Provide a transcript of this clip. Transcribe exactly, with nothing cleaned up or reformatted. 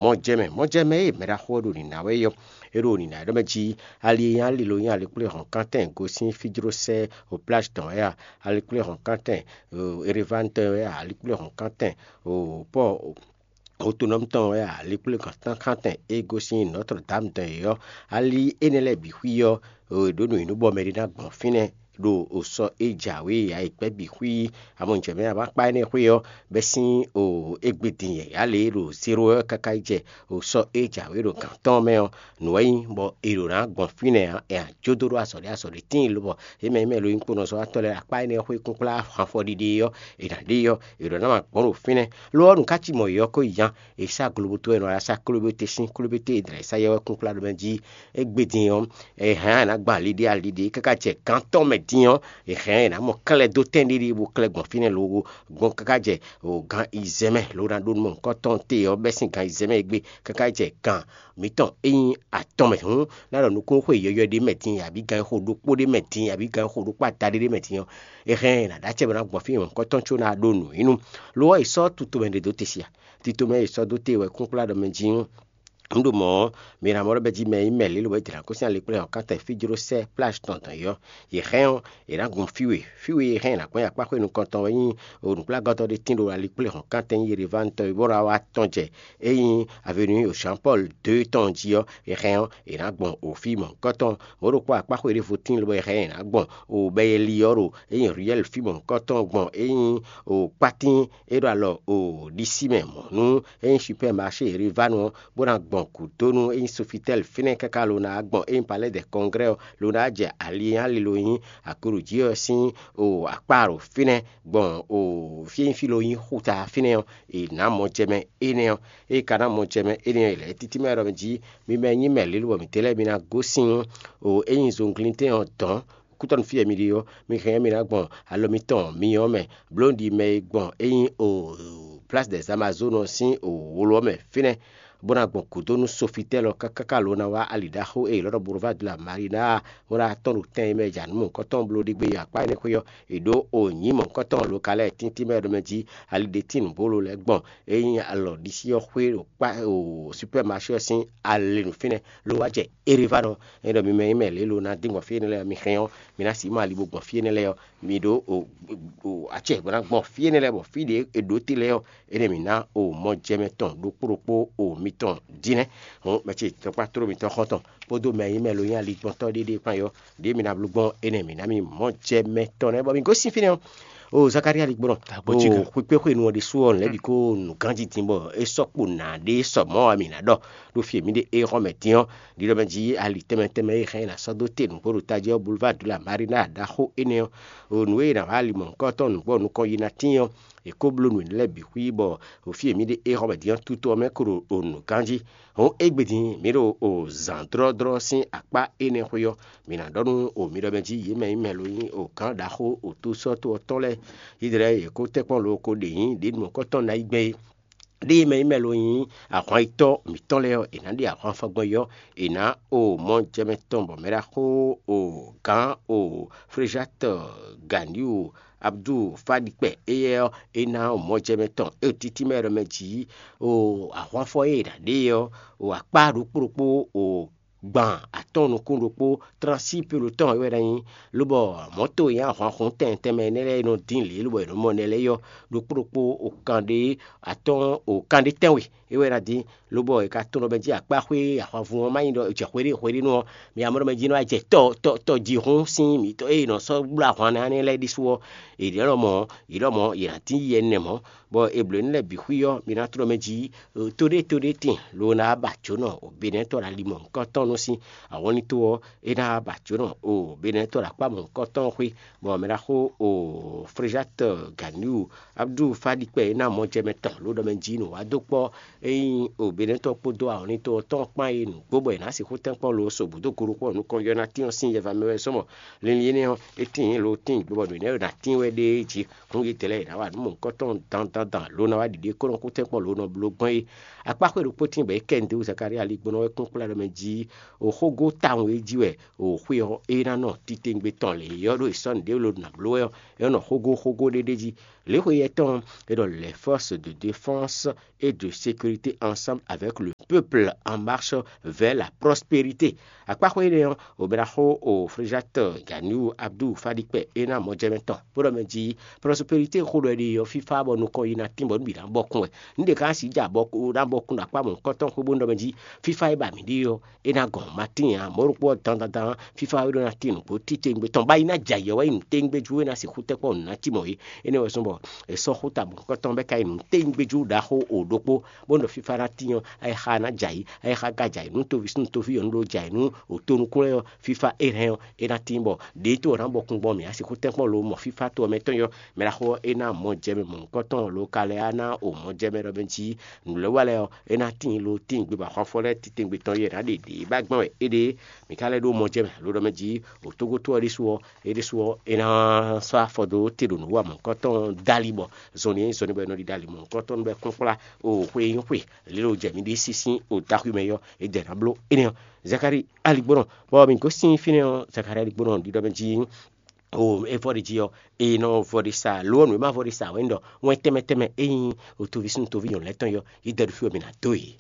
Mɔjɛmɛ, mɔjɛmɛ e mɛɖaxó ɔ́ ɖo nǐ ná wɛ é ɔ́, é ɖo nǐ ná ɖɔ mɛ jí ali e nyí ali lo nyí alikpléhɔ̌nkántɛn gosín fíjlósɛ́ o plage tɔn wɛ a? Alikpléhɔ̌nkántɛn Erevanu tɔn wɛ a? Alikpléhɔ̌nkántɛn o pɔ́ otonɔ́mu tɔn wɛ a? Alikpléhɔ̌nkántɛn e gosín Nɔtr Dam tɔn é ɔ́, ali énɛ́ lɛ́ɛ bǐ xwí ɔ́, è ɖǒ nǔ nyi nú bɔ mɛ ɖé ná gbɔn fínɛ́ ɖo sɔ e jǎwe ǎ é kpɛ́ bǐ xwí. Amɔ̌ jɛ mɛ ǎ, akpá énɛ́ xwé ɔ́, bɛ́ sín égbé din yǎyá lě ɖo zéro ɔ́ káká yi jɛ sɔ e jǎwe ɖo gǎn tɔn mɛ ɔ́, nǔ wɛ nyí bɔ è ɖǒ ná gbɔn fínɛ́ ǎ. È nǎ jó dó ɖó azɔ̌ ɖé azɔ̌ ɖé tíin lobɔ é mɛ nyí mɛ lo nyí kponɔzɔ́watɔ́ lɛ́ɛ akpá énɛ́ xwé kúnkplá hanfɔ ɖiɖe ɔ́, è nǎ ɖe ɔ́, è ɖǒ ná ma gbɔn ɖo fínɛ́. Lo ɔ́, nǔ ká cí mɔ̌ yɔ́ kó yi nya. È sá globoto wɛ è nɔ wá sá klóbété sín klóbété è dlɛ̌ sá yɛ wɛ kúnkplá ɖo mɛ jí. Égbé din ɔ́, è hɛn ɔ́ è nǎ gbɔn ali ɖé ali ɖé káká jɛ gǎn tɔn mɛ din ɔ́, è hɛn ɔ́ è nǎ mɔ klɛ́ dó tɛ́n ɖé ɖé bó klɛ́ gbɔn fínɛ́ lowo gbɔn káká jɛ o gan izɛ́mɛ lo ná ɖó nú mɔ̌hunkɔtɔn te ɔ́ bɛ́ sín gan izɛ́mɛ e gbe káká jɛ gan mǐtɔn e nyí atɔn mɛ hǔn, ná ɖɔ nukúnxwe yɔywɛ ɖé mɛ din abǐ gan e xo ɖokpó ɖé mɛ din abǐ gan e xo ɖokpó adaɖé ɖé mɛ din ɔ́, è hɛn ɔ́ è nǎ ɖó acɛ bɔ ná gbɔn fí mɔ̌hunkɔtɔn có ná ɖó nǔ nyí nú. Lo ɔ́, è sɔ́ tutomɛ ɖé dó te sia. Titomɛ e è sɔ́ dó te wɛ kúnkplá ɖɔ mɛ jí. Un ɖo mɔ̌ ɔ́, mi ná mɔ ɖɔ bɛ́ jí mɛ e nyí mɛ lě lobo é dě ná gosín ali kplé ɔ́ ká tɛ fí jló sɛ́ plage tɔn dɔn é ɔ́, yě hɛn ɔ́, è nǎ gun fí we. Fí we e hɛn è nǎ gbɔn nyi akpá xwé nukɔntɔn wɛ nyí o nǔkplɔ́ngántɔ́ ɖé tín ɖo ali kplé hɔn ká tɛn nyí Yerevanu tɔn e bó ná wá tɔn jɛ é nyí avenue Jean Paul deux tɔn jí ɔ́, è hɛn ɔ́, è nǎ gbɔn o fí mɔ̌hunkɔtɔn. Mɔ̌ ɖokpó akpá xwé ɖěvo tíin lobo è hɛn è nǎ gbɔn o bɛyeli ɔ́ ɖo é nyí ruelle fí mɔ̌hunkɔtɔn gbɔn é nyí o kpátín é ɖo alɔ o ɖisí mɛ mɔ̌ nú é nyí supermarché Yerevanu ɔ́, bó ná gbɔn gǔdo nú é nyí Sofitel fínɛ́ káká lo ná gbɔn é nyí Palais des Congrès ɔ́, lo ná jɛ ali e nyí ali lo nyí akoɖují ɔ́ sín o akpá ɖo fínɛ́ gbɔn o fí e nyí fí lo nyí xuta fínɛ́ ɔ́, è nǎ mɔ jɛ mɛ énɛ́ ɔ́. Ée ka ná mɔ jɛ mɛ énɛ́ ɔ́, è lɛ̌ títí mɛ ɖɔ mɛ jí mi mɛ nyí mɛ lě lobɔ mǐtɛn lɛ́ɛ mi ná gosín o é nyí zɔnglíntɛn ɔ́ dɔ̌n. Kútɔ́nú fí e mi ɖe ɔ́, mi hɛn ɔ́, mi ná gbɔn alɔ mitɔn myɔ ɔ́ mɛ, bló un ɖi mɛ e gbɔn é nyí o Place des Amazones ɔ́ sín o wolo ɔ́ mɛ fínɛ́, bó ná gbɔn gǔdo nú Sofitɛ́l ɔ́ káká lo ná wá ali ɖaxó e è ylɔ́ ɖɔ Boulevard de la Marina, bó ná tɔ́n ɖo tɛn e mɛ è jǎ nǔ mɔ̌hunkɔtɔn bló ɖi gbé yi akpá énɛ́ xwé ɔ́, è ɖǒ o nyǐ mɔ̌hunkɔtɔn lo ka lɛ́ɛ tíntín mɛ ɖɔ mɛ jí ali ɖé tín nǔbólo lɛ́ɛ gbɔn é nyí alɔ ɖisí ɔ́ xwé ɖo kpá o supɛ́maché ɔ́ sín ali nǔ fínɛ́, ló wá jɛ Erevanu. É ɖɔ mi mɛ nyí mɛ lě lo ná dín gbɔn fí énɛ́ lɛ́ɛ ɔ́, mi hɛn ɔ́, mi ná sixú mɔ ali bó gbɔn fí énɛ́ lɛ́ɛ ɔ́, mi ɖó o o acɛ bó ná gbɔn fí énɛ́ lɛ́ɛ bɔ fí ɖě è ɖǒ te lɛ́ɛ ɔ́, énɛ́ mǐ ná o mɔjɛmɛ tɔn ɖokpó ɖokpó o mitɔn dínɛ́. Hǔn mɛ ce tɔkpá tló mitɔn xɔ́ntɔn kpódó mɛ e nyí mɛ lo nyí aligbɔntɔ́ ɖéɖé kpán yɔ ɖěe mi ná bló gbɔn énɛ́ mǐ ná mi mɔjɛmɛ tɔn nɛ́ bɔ mi gosín fínɛ́ ɔ́. O Zakalía ligbɔnɔ, o xwekpéxwenu ɔ́ ɖésú ɔ́, nǔ lɛ́ɛ bǐ kó nǔ ganjí din bɔ é sɔ́ kpo nǎ ɖé sɔ mɔ̌ ɔ́, mǐ ná ɖɔ ɖó fí e mǐ ɖe éhɔ́ mɛ din ɔ́, ɖiɖɔ mɛ jí ali tɛnmɛ tɛnmɛ e hɛn è nǎ sɔ́ dó te nǔgbó ɖo tají ɔ́, Boulevard de la Marina ɖaxó énɛ́ ɔ́, o nǔ e è nǎ wá ali mɔ̌hunkɔtɔn nǔgbó ɔ́ nukɔn yi ná tíin ɔ́, è kó bló nǔ énɛ́ lɛ́ɛ bǐ xwí bɔ o fí e mǐ ɖe éhɔ́ mɛ din ɔ́, tutɔ ɔ́ mɛ ko ɖo o nǔ ganjí. Hǔn égbé din mǐ ɖo o zǎn dlɔ́dlɔ́ sín akpá énɛ́ xwé ɔ́, mǐ ná ɖɔ nú o mi ɖɔ mɛ jí yě mɛ nyí mɛ lo nyí o gǎn ɖaxó o tó sɔ́ tó ɔ́ tɔn lɛ́ɛ, Izlayɛ́li e kó tɛ́nkpɔ́n lo ko ɖe nyǐ ɖě nukɔntɔn ná yi gbɛn é. Ɖěe mɛ nyí mɛ lo nyí ahwan yitɔ́ mǐtɔn lɛ́ɛ ɔ́, è nǎ ɖe ahwan fɔgbɔn yi ɔ́, è nǎ o mɔ jɛ mɛ tɔn bɔ mɛ ɖaxó o gǎn o Frejatɔ Ganiu Abdu Fadi kpɛ éyɛ́ ɔ́, é ná o mɔ jɛ mɛ tɔn é o títí mɛ ɖɔ mɛ jǐ o ahwanfɔ e è nǎ ɖe é ɔ́, o akpá ɖokpó ɖokpó o gban atɔ́ɔ́n nukún ɖokpó transi pelo tɔn é wɛ ná nyí, lobɔ mɔ̌to e nyí ahwanhun tɛnmɛ tɛnmɛ énɛ́ lɛ́ɛ e nɔ dín lě lobɔ è nɔ mɔ nɛ́ lɛ́ɛ é ɔ́, ɖokpó ɖokpó o kanɖé atɔ́ɔ́n o kanɖé tɛ́nwe é wɛ ná dín, lobɔ è ka tunwun ɖɔ mɛ jí akpá xwé ahwanvun ɔ́ má nyí ɖɔ è jɛ xweɖé xweɖé nú ɔ́, mi amɔ̌ ɖɔ mɛ jí nɔ wá jɛ tɔ tɔ tɔjihún sín mǐtɔn e è nɔ sɔ́ bló ahwan ná énɛ́ lɛ́ɛ ɖésú ɔ́, è ɖě lɔmɔ̌ è lɔmɔ̌ è nǎ dín yi ɛnɛ mɔ̌, bɔ è blǒ énɛ́ lɛ́ɛ bǐ xwí ɔ́, mi ná tló mɛ jí to ɖé to ɖé tíin lo ná ba jǒnɔ o Benɛ́tɔ́ ɖo ali mɔ̌hunkɔtɔn nú sín awɔnlín tó ɔ́, é ná ba jǒnɔ o Benɛ́tɔ́ ɖo akpá mɔ̌hunkɔtɔn xwé, bɔ mɛ ɖaxó o Frejatɔ Ganiu Abdu Fadi kpɛ é ná mɔ jɛ mɛ tɔn ló ɖɔ mɛ jí nǔ wá dó kpɔ́ é nyí o Benɛ́tɔ́ kpódó awɔnlín tó ɔ́ tɔn kpán é nǔgbó bɔ è nǎ sixú tɛ́nkpɔ́n lo so bǔ dó go ɖokpó ɔ́ nukɔn yɔ ná tín ɔ́ sín yɛ va mɛ wɛ sɔ́ mɔ linlin énɛ́ ɔ́, é tíin lo tíin gbó bɔ nǔ énɛ́ ná tín wɛ ɖéé jí. Hǔn yědɛɛ lɛ́ɛ è nǎ wa nǔ mɔ̌hunkɔtɔn dandandan lo ná wá ɖiɖe kó nɔ kú tɛ́nkpɔ́n lo nɔ bló gbɔn é. Akpá xwé ɖokpó tíin bɔ é kɛ nǔɖé wú Zakalía ali gbɔn ɔ́ wɛ kún kplá ɖɔ mɛ jí o xógó tawun e jí wɛ o xwé ɔ́ é ná nɔ titewungbe tɔn lě ɔ́ ɖó è sɔ́ nǔɖé lo nǎ bló wɛ ɔ́, é nɔ xógó xógó ɖé ɖ'é jí. Lě xwe yɛtɔn ɔ́, è ɖɔ les forces de défense et de sécurité. Ensemble avec le peuple en marche vers la prospérité. Akpáxwé énɛ́ ɔ́, obɛ́naxó o Fréjat Ganiu Abdou Fadikpɛ é ná mɔjɛmɛ tɔn bó ɖɔ mɛ jí prospérité xó ɖɔ é ɖe ɔ́, fífá bɔ nukɔn yi ná tín bɔ nǔ bǐ ná bɔkun wɛ. Nǔ ɖě ká sixú jɛ abɔkun ná bɔkun ɖo akpá mɔ̌hunkɔtɔn xwé bó nɔ mɛ jí fífá e ba mǐ ɖe ɔ́, é ná gɔn matín ǎ. Mɔ̌ ɖokpó ɔ́ dandandan fífá é ɖó ná tín nǔgbó títewungbe tɔn bá yi ná jɛ ayǐ ɔ́ wɛ nyí nǔtewungbe jú é ná sixú tɛ́ kpɔ́n nǔ ná cí mɔ̌ é. Énɛ́ wɛ zɔ́n bɔ è sɔ́ xú ta mɔ̌hunkɔtɔn bɔ é ka nyí nǔtewungbe jú ɖaxó o ɖokpó bó nɔ fífá ná tín ɔ́, ayixa ná jɛ ayǐ, ayixa ka jɛ ayǐ nú toví sín toví ɔ́ nú ɖó jɛ ayǐ nú òtonukún lɛ́ɛ ɔ́, fífá é hɛn ɔ́, é ná tín bɔ ɖě tó ɔ́ ná bɔkun gbɔn mǐ a sixú tɛ́nkpɔ́n lo mɔ fífá to ɔ́ mɛ tɔn yɔ mɛ ɖaxó ɔ́, é ná mɔ jɛ mɛ mɔ̌hunkɔtɔn lo ka lɛ́ á ná o mɔ jɛ mɛ ɖɔ mɛ jí nǔ lɛ́ wa lɛ́ɛ ɔ́, é ná tíin lo tíin gbé bɔ ahwanfɔ lɛ́ɛ titewungbe tɔn yɛ ná ɖe ɖě ba gbɔn wɛ éɖée. Mǐ ka lɛ́ ɖó mɔ jɛ mɛ alo ɖɔ mɛ jí o tógótó ɔ́ ɖésú ɔ́, é ɖésú ɔ́, é ná sɔ́ afɔ dó te ɖo nǔ wa mɔ̌hunkɔtɔn dali bɔ zɔnlin e zɔnlin bɔ è nɔ ɖi ɖali mɔ̌hunkɔtɔn nú bɔ é kplɔ́nkplá o xwe e nyí xwe lílo jɛ mǐ ɖi sísín o daxwi mɛ yɔ é jɛ ná bló énɛ́ ɔ́. Zakari aligbɔnɔ bɔ mǐ gosín fínɛ́ ɔ́, Zakari aligbɔnɔ ɖiɖɔ mɛ jí o é vɔ ɖi jí ɔ́, é nɔ vɔ ɖi sa lo ɔ́, nǔ e ma vɔ ɖi sa wɛ un ɖɔ wɛn tɛnmɛ tɛnmɛ é nyí o toví sín toví nyɔ̌nu lɛ́ɛ tɔn yɔ yi dɛ ɖo fí wɛ mǐ ná dó yě.